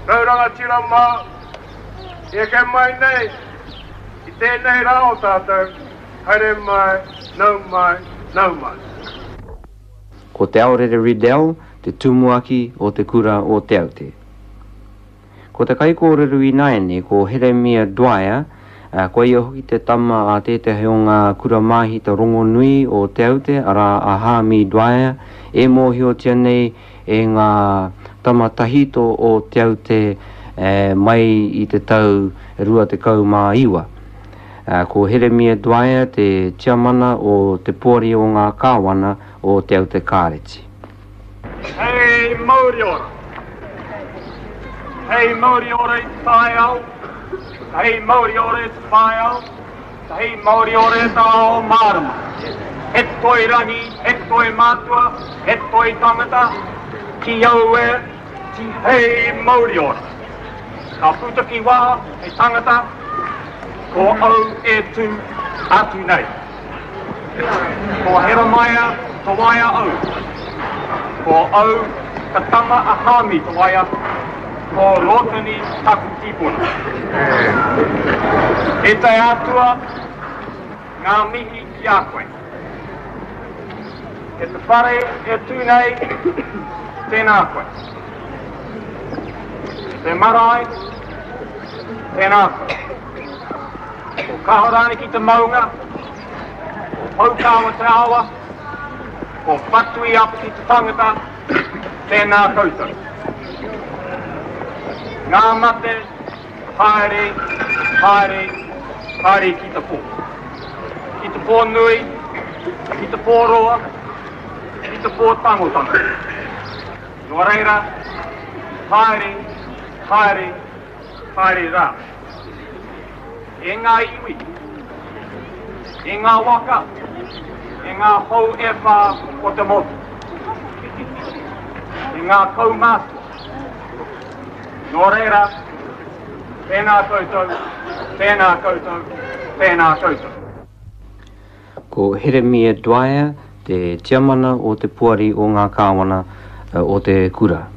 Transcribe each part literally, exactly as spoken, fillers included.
Rau rangatira mā, i eke mai nei, i tēnei rā o tātou, haere mai, nau mai, nau mai. Ko Te Aorere Riddell te tumuaki o te kura o Te Aute. Ko te kaikōrero ināianei ko Heremia Dwyer, ko ia hoki te tama a tētahi o ngā kura māhita rongonui o Te Aute, arā a Hāmi Dwyer, e mōhiotia nei e ngā tama tahito o Te Aute mai i te tau rua tekau mā iwa. Ko Heremia Dwyer te tiamana o te poari o ngā kāwana o Te Aute Kāreti. Hei mauri ora. Hei mauri ora i te taiao. Hei mauri ora i te whaiao. Hei mauri ora i te ao mārama. He toi rangi, he toi mātua, he toi tangata, ki au e, ti hei mauri ora. Ka puta ki wā, hei tangata, ko au e tū atu nei. Ko Heremaia Tawaia au. Ko au ka tama a Hāmi Tawaia, ko Rotani taku tīpuna. E te Atua, ngā mihi ki a koe. E te whare e tū nei, tēnā koe. Te marae, tēnā koe. Ko Kahorangi ki te maunga, ko Poukawa te awa, ko Whatui Apiti te tangata, tēnā koutou. Ngā mate, haere, haere, haere ki te pō. Ki te pō nui, ki te pō roa, ki te pō tangotango. Nō reira, haere, haere, haere rā. E ngā iwi, e ngā waka, e ngā hou e whā o te motu, e ngā kaumātua. Nō reira, tēnā koutou, tēnā koutou, tēnā koutou. Ko Heremia Dwyer te tiamana o te poari o ngā kāwana o te kura.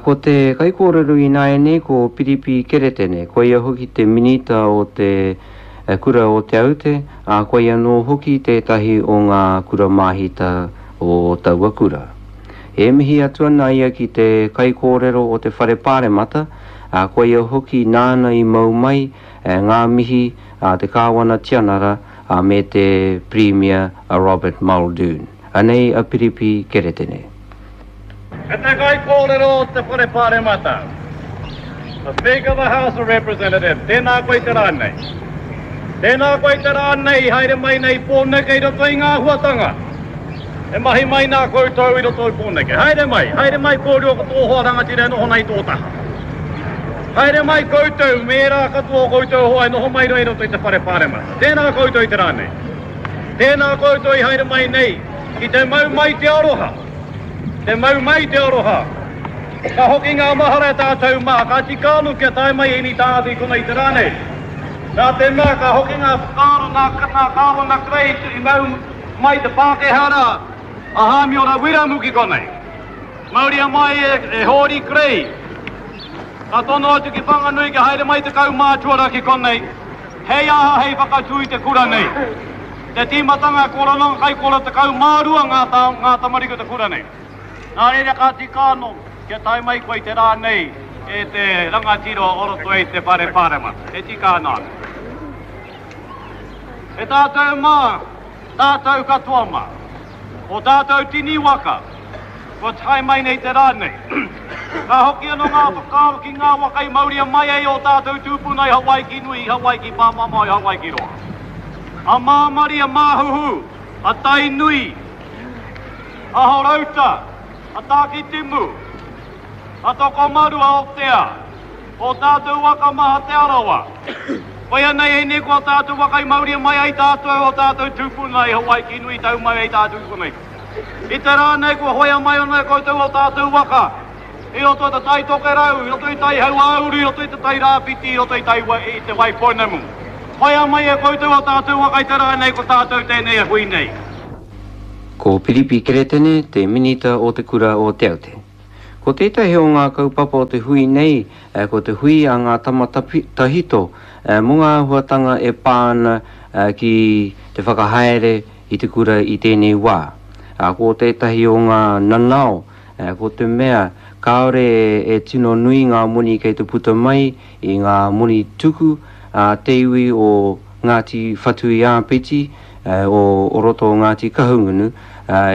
Ko te kaikōrero ināianei ko Piripi Keretene, ko ia hoki te minita o te kura o Te Aute, ā, ko ia anō hoki tētahi o ngā kura māhita o taua kura. E mihi atu ana ia ki te kaikōrero o te whare pāremata, ā, ko ia hoki nāna i mau mai ngā mihi a te kāwana tianara me te Premier a Robert Muldoon. Anei a Piripi Keretene. E te kaikōrero o te whare pāremata, the Speaker of the House of Representatives, tēnā koe te rā nei. Tēnā koe te rā nei, haere mai nei Pōneke i roto i ngā huatanga. E mahi mai nā koutou i roto i Pōneke. Haere mai, haere mai kōrua ko tō hoa rangatira e noho nei tō taha. Haere mai koutou, me ērā katoa o koutou hoa e noho mai rā i roto i te whare pāremata. Tēnā koutou i te rā nei. Tēnā koutou i haere mai nei, ki te mau mai te aroha. Te mau mai te aroha. Ka hoki ngā mahara e tātou mā, ka tika anō kia tae mai ēnei tāngata i konei te rā nei. Nā te mea ka hoki ngā whakaaro nā, nā Kāwana Kerei i mau mai te Pākehā rā, a Hāmiora Wiremu ki konei. Mauria mai e, e Hōri Kerei. Ka tono atu ki Whanganui kia haere mai te kaumātua rā ki konei. Hei aha hei whakatū i te kura nei. Te tīmatanga korona kaikora tekau mā rua ngā, tā, ngā tamariki o te kura nei. Nā reira ka tika anō kia tae mai koe i te rā nei e te rangatira o roto i te whare pāremata. E tika ana anō. E tātou mā, tātou katoa mā, o tātou tini waka, kua tae mai nei te rā nei. Ka hoki anō ngā whakaaro ki ngā waka i mauria mai ai o tātou tūpuna i Hawaiki nui, i Hawaiki pāmamao, i Hawaiki roa. A Māmari, a Māhuhu, a Tainui, a Horouta, a Tākitimu, a Tokomaru, a Aotea, o tātou waka maha Te Arawa. Koia nei ēnei ko tātou waka i mauria mai ai tātou o tātou tūpuna i Hawaiki nui tau mai ai tātou konei. I te rā nei kua hoea mai ana e koutou o tātou waka. I roto i te Tai Tokerau, i roto i Tai Hauāuru, i roto i te Tai Rāwhiti, i roto i, tai, i te Waipounamu. Hoea mai e koutou o tātou waka i te rā nei ko tātou tēnei e hui nei. Ko Piripi Keretene te minita o te kura o Te Aute. Ko tētahi o ngā kaupapa o te hui nei, ko te hui a ngā tama tahito, mō ngā āhuatanga e pā ana ki te whakahaere i te kura i tēnei wā. Ko tētahi o ngā nanao, ko te mea kāore e tino nui ngā moni kei te puta mai i ngā moni tuku a te iwi o Ngāti Whatuiāpiti, o, o roto o Ngāti Kahungunu,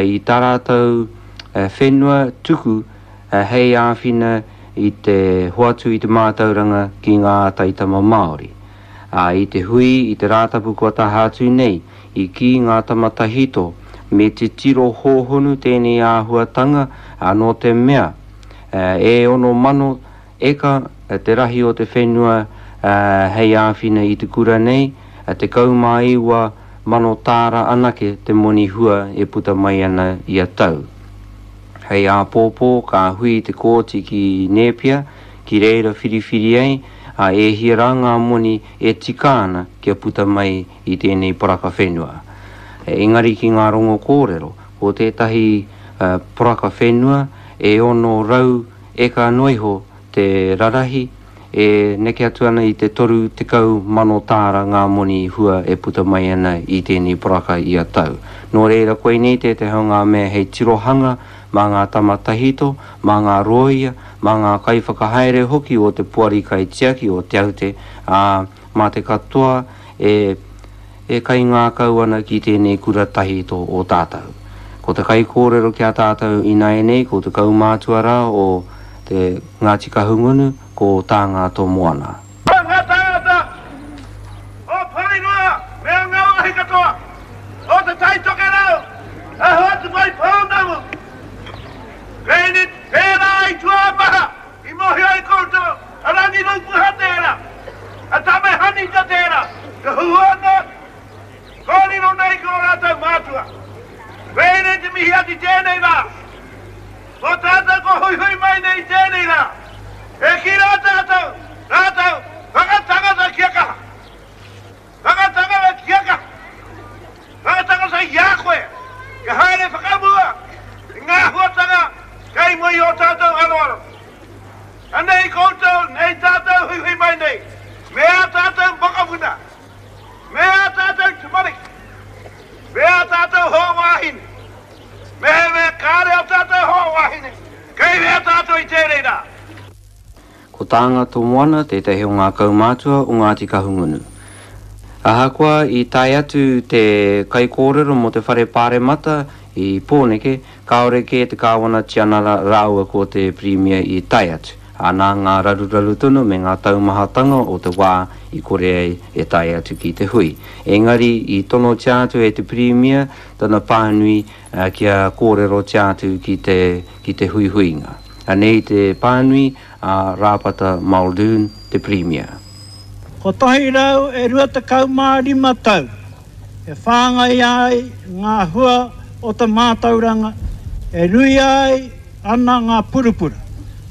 i tā rātou whenua tuku hei āwhina i te hoatu i te mātauranga ki ngā taitama Māori. A, i te hui, i te rātapu kua taha atu nei, i ki ngā tama tahito, me te tiro hōhonu tēnei āhuatanga anō te mea. E ono mano eka te rahi o te whenua hei āwhina i te kura nei, te kaumāiwa mano tāra anake te moni hua e puta mai ana i a tau. Hei āpōpō ka hui te kōti ki Nēpia, ki reira whiriwhiri ai, a e hia rā ngā moni e tika ana kia puta mai i tēnei poraka whenua. Engari ki ngā rongo kōrero, ko tētahi uh, poraka whenua e ono rau eka noiho te rarahi, e neke atu ana i te toru tekau mano tāra ngā moni hua e puta mai ana i tēnei poraka i a tau. Nō reira koinei tētahi o ngā mea hei tirohanga mā ngā tama tahito, mā ngā rōia, mā ngā kaiwhakahaere hoki o te poari kaitiaki o Te Aute, ā, mā te katoa e, e kaingākau ana ki tēnei kura tahito o tātou. Ko te kaikōrero ki a tātou ināianei, ko te kaumātua rā o te Ngāti Kahungunu, ko Tānga Tōmoana. Ngā tāngata o Porirua me ngā wāhi katoa, o te Tai Tokerau, a hoatu mai pounamu. Pēni tērā i tuamaha, i mohi ai koutou, a Rangi Rupuha tērā, a Tame Hanita tērā, te huana, kōrero nei ko rātou mātua. Pēni te mihi ati tēnei rā, ko tātou ko huihui mai nei tēnei rā, e ki rā tātou, rātou, whakatangata kia kaha. Whakatangata kia kaha. Whakatangata i a koe, kia haere whakamua, i ngā huatanga, kei mua i o tātou aroaro. Anei koutou, nei tātou huihui mai nei, me a tātou mokopuna, me a tātou tamariki, me a tātou hoa wāhine, me he mea kāre o tātou hoa wāhine, kei mea tātou i tēnei rā. Ko Tānga Tōmoana tētahi o ngā kaumātua o Ngāti Kahungunu. Ahakoa i tae atu te kaikōrero mō te whare pāremata i Pōneke, kāore kē te kāwana tianara rāua ko te Pirimia i tae atu. Anā ngā raruraru tonu me ngā taumahatanga o te wā i kore ai e tae atu ki te hui. Engari i tonotia atu e te Pirimia tana pānui uh, kia kōrerotia atu ki te, ki te huihuinga. Anei te pānui a Rāpata Muldoon, te Pirimia. Kotahi rau e rua tekau mā rima tau, e whāngai ai ngā hua o te mātauranga, e rui ai ana ngā purupura,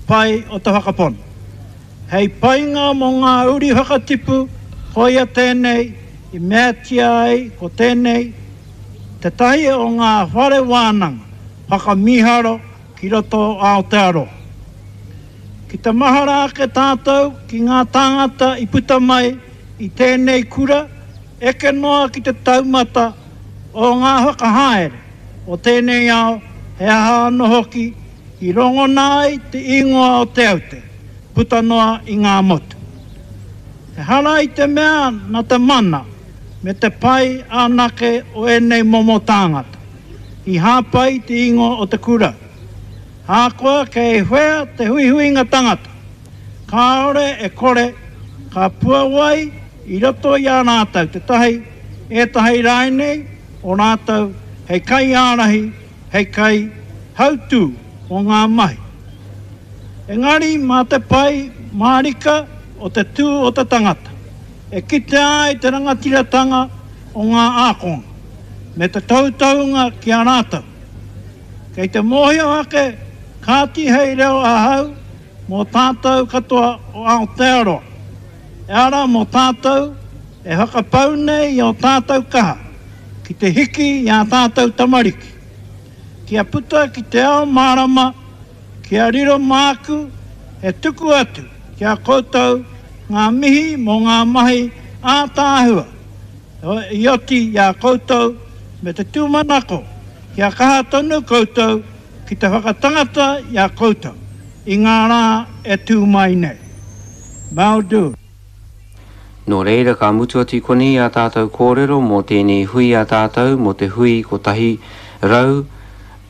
pai o te whakapono. Hei painga mō ngā uri whakatipu, koia tēnei, i meatia ai ko tēnei, te tahi o ngā whare wānanga, whakamiharo ki roto Aotearoa. Ki te mahara ake tātou ki ngā tāngata i puta mai i tēnei kura, eke noa ki te taumata o ngā whakahaere o tēnei ao, he aha anō hoki i rongona ai te ingoa o Te Aute, puta noa i ngā motu. He hara i te mea na te mana me te pai anake o ēnei momo tāngata, i hāpai te ingoa o te kura. Hākoa kei whea te huihuinga tangata, kāore e kore, ka puawai i roto i a rātou te tahi, ētahi rānei o rātou hei kai ārahi, hei kai hautū o ngā mahi. Engari mā te pai mārika o te tū o te tangata, e kitea ai te rangatiratanga o ngā ākonga, me te tautaunga ki a rātou. Kei te mōhio ake, kāti hei reo ahau mō tātou katoa o Aotearoa. E ara mō tātou e whakapau nei i o tātou kaha, ki te hiki i a tātou tamariki. Kia puta ki te ao mārama Kia riro māku e tuku atu ki a koutou ngā mihi mō ngā mahi ātaahua i oti i a koutou me te tūmanako kia kaha tonu koutou ki te whakatangata i a koutou i ngā rā e tū mai nei. Mau do. Nō reira ka mutu atu i konei ā tātou kōrero mō tēnei hui a tātou mō te hui kotahi rau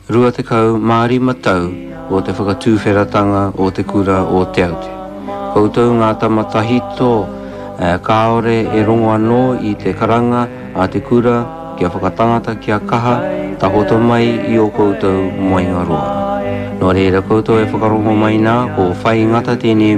rua tekau mā rima tau o te whakatūwheratanga o te kura o Te Aute. Koutou ngā tama tahito kāore e rongo anō i te karanga a te kura kia whakatangata kia kaha takoto mai i ō koutou moenga roa. Nō reira koutou e whakarongo mai nā ko Whai Ngata tēnei